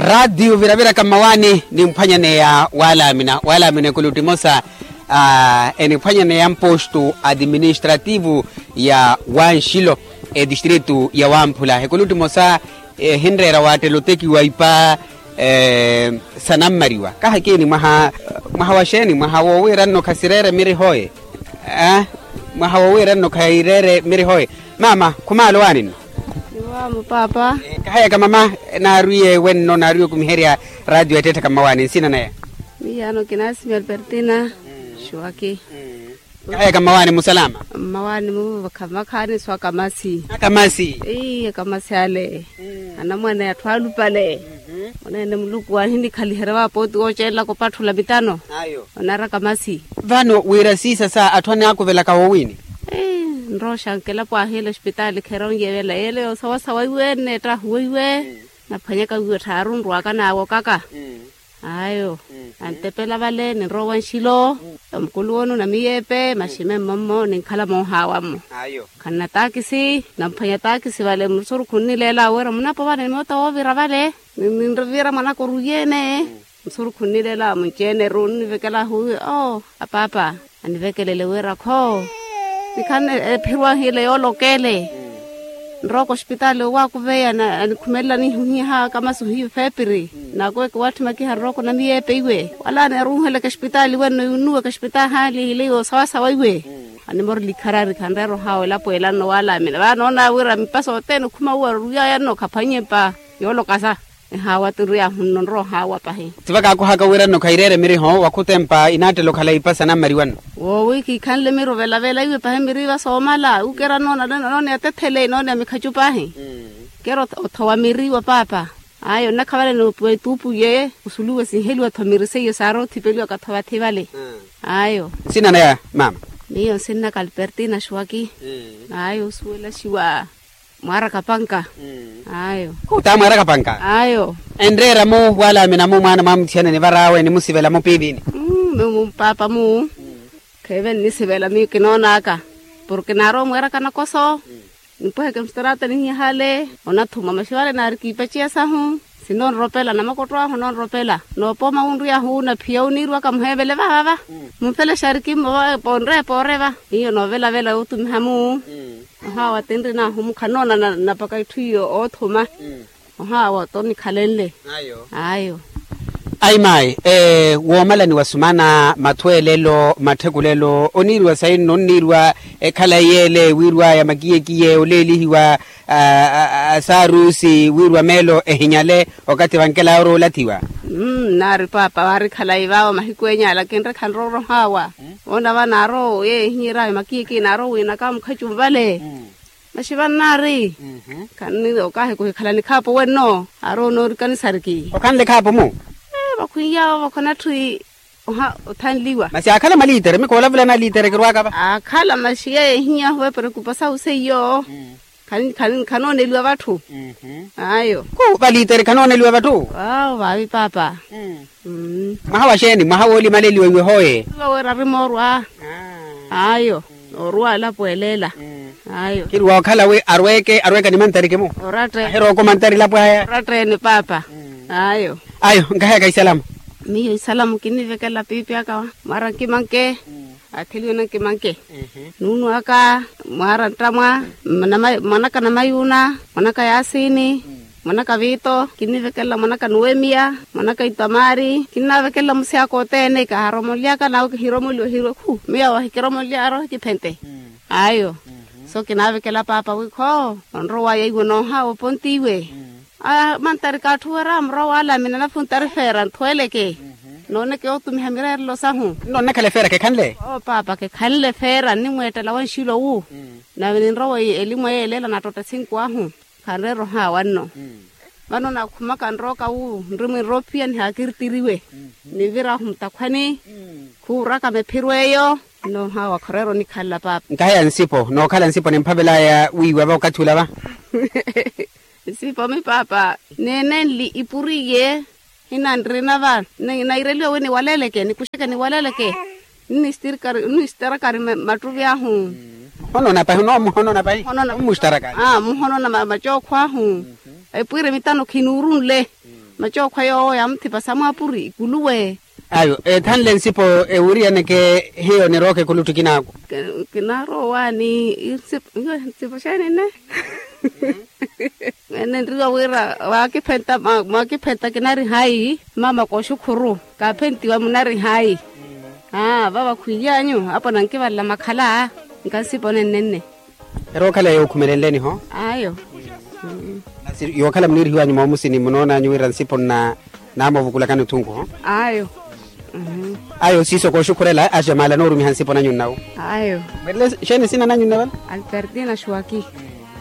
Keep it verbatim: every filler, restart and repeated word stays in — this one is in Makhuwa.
Raatiyo viraviraka mmawaani nimphwanyaneya waalaamina waalaamina ekulutti emosa. Eniphwanyaneya mpostu administrativu ya wanxilo, etistritu ya wamphula ekulutti emosa ehinreera waattela otekiwa ipa sanammariwa kahakiini mwaha wa xeeni mwaha wowiiranno khasireere mirihoye. Mwaha wowiiranno khayireere mirihoye. Maama khumaala owaaninno? Niwaamo paapa. Kahayaka mama, naarwiye wenno naarwiye okumiherya raatiyo etteetthaka mmawaani nsina naya? Miyaano kinaasimi alpertina. Xuwaki. Kahayaka mmawaani musalaama? Mmawaani mu vakhamakhaani swa kamasi. Akamasi. Ii akamasi ale. Anamwane atthu alupale. Oneene muluku aahinikhaliherya vaapooti woocelelaka opatthula mitano. Onaraka masi. Vano wira siisa sa atthu anaakuvelaka wowiini? Nroxanke elapo ahiila ospitaali kheronye vela yeelo yoosawasawa iwe nneettahuwa iwe. Naphwanyaka wiiwe tthaaru nrwaka naawokaka. Ayo. Nantepela vale ninrowa nxilo. Omukuluwoni onamiyeepe maxime mmommo ninkhala moohaawa-mo. Khanna taakisi. Namphwanya taakisi vale musurukhu nnileela wira munapo vale nimoota woovira vale. Ninvira mwanaka oruyeene. Musurukhu nnileela munci-ene ru nnivekela ahuwiwe oo apaapa. Anivekelele wira kho nikhanne ephiro ahiile yoolokele. Nrowa kospitaali owaakuveya anikhumelela nihihiha kamasi ohiiva efeepiri. Nakuweke waatthi makiha nrowa konamiyeepe iwe wala aneeruuheleke espitaali wenno yunuweke espitaali ahaali ehile yoosawasawa iwe. Animorela ikharari khanreera ohaawa elapo ela nnowaalaamina vaanoona wira mipasa othene okhuma uwo aruruyaya nno khaphwannye mpa yoolokasa. Ehaawa tinriyaahu nno nrowa ohaawa pahi. Ti vakaakuhaka wira nno khayireere miriho wakhutempa inaattela okhala ipasa nammariwa nno. Woowi kiikhanle miri ovelavela iwe pahi miri vasoomala ukera noona noona ya tethele noona ya mikhacu pahi. Kera othowa miri wa paapa. Ayo nnakhavaleni opuwa etuupu ye osuluwe sinheliwa tho miri seiyo saarothipeliwa katho vathi vale. Ayo. Nsina naya maama? Miyo nsinnaka alpertina xuwaki. Ayo osuwelaxiwa mwaaraka panka. Ayo. Khuta mwaaraka panka. Ayo. Enreera-mu waalaamina-mu mwaana mwaamutthiyana nivar'awe nimusivela-mu piivini? Mmu paapa mu. Kheeve nnisivela miyo kinoon'aka porke naarowa mweeraka nakoso. Nimpweheke mustaraata nihiya hale onathuma maxi vale naari kiipaciya sahu. Sinonropela namakotto ahu ononropela noopooma wunriy'ahu naphiya oniiriwaka muheevele vavava. Mumfele xariki mmo va poonreya pooreva hiyo noovelavela yotumiha-mu. Ohaawa tinrin'ahu mukhanoona napaka itthu iyo oothuma. Ohaawa tonikhalenle. Ayo. Ayi mayi. Woomalaniwa sumana mathweelelo matthekulelo oniiriwa sayi nno onniiriwa ekhalayi yeele wiirwaya makiyekiye oleelihiwa asaarusi wiirwa meelo ehinyale okathi vankelaya orowa olathiwa. Nnaari paapa waari khalayi vaawo mahiku enya ala kinrekha nroorohaawa. Oona va naarowa yeehinyeryawe makiyekiye naarowa wiinaka mukhacu mvale. Maxi vannaari. Okahi kuhikhala nikhaapo wenno aarowa onoorikani sariki. Okhanle khaapo mu? Vakhwiny'awo vakhonatthi oha othanliwa. Masi aakhala maliitere mikoolavulana aliitere kirwaka va. Aakhala maxi yeehiny'ahu vaperekupa sahu seiyo. Khanooneliwa vatthu. Ayo. Khu valiitere khanooneliwa vatthu. Vaavi paapa. Mwaha wa xeeni mwaha woolimaleliwa iwe hooye? Iwe wira ari moorwa. Ayo. Nooruwa elapo eleela. Ayo kirwa okhala wi arweeke arweeka ni mantariki mu? Oratte. Ahirooko mantari elapo aya. Oratte ene paapa. Ayo. Ayo nkaheyaka isalamu. Miyo isalamu kinnivekela piipi aka mwaara nkimanke. Aatheliwe nankimanke. Nuunu aka mwaara nttamwa. Mwanaka namayuuna mwanaka yaasini. Mwanaka viito kinnivekelela mwanaka nuwemiya. Mwanaka itamaari kinnavekelela musi aka othene kaharomoliyaka nawe kihiromoliwa hirwe khu miyo awo ahikiromoleya aroho ekiphente. Ayo. So kinaavekela paapa wi kho onrowaya iwe noohaawa oponti iwe. Aya mantari kaatthuwerya murowa waalaamina nafuntari feera nthweeleke. Nooneke yootumiha mireerelo sahu. Nnoonekhala efeera kekhanle. Oo paapa kekhanle feera nnimweettela wanxilo wu. Nave ninrowa elimu eyo eleela nattotta esinku ahu. Khanreera ohaawa nno. Vano nakhumaka nrooka wu nri mwinroophiya nihaakirtiriwe. Nivirahu mutakhwani. Khuuraka mephiro eyo. Nno ohaawa khureera onikhalela paapa. Nkaheya nsipo nookhala nsipo nimphavelaya wiiwa va okathi ula va. Nsipo mi paapa. Neenenli ipuriye. Hina nrina va naireliwa wi niwaleleke nikuxeke niwaleleke. Nnisitarakari mattuvi ahu. Muhonona pahi no muhonona pahi. Muhonona macookho ahu. Epwiire mitano khinuurunle. Macookho yoowo yaamuthipasa mwaapuri ikuluwe. Ayo ethanle nsipo ewiriyaneke hiyo nirooka ekuluttu kinaako. Kinaarowaani. Nsipo xeeni nne? Ene nriwa wira waakiphenta kinari hayi mama kooxukhuru kaaphentiwa munari hayi. Aa vava khwiiyanyu apo nankivalela makhala. Nkansipo nenne nne. Erookhala yookhumelenleni-ho. Ayo. Yookhala muniirihiwanyu moomusini munoonanyu wira nsipo nna naamoovukulakani othunku-ho. Ayo. Ayo siiso kooxukhurela axamala noorumiha nsipo nanyu nnawo. Ayo. Mwerele xeeni esina nanyu nne vala? Albertina xuwaki.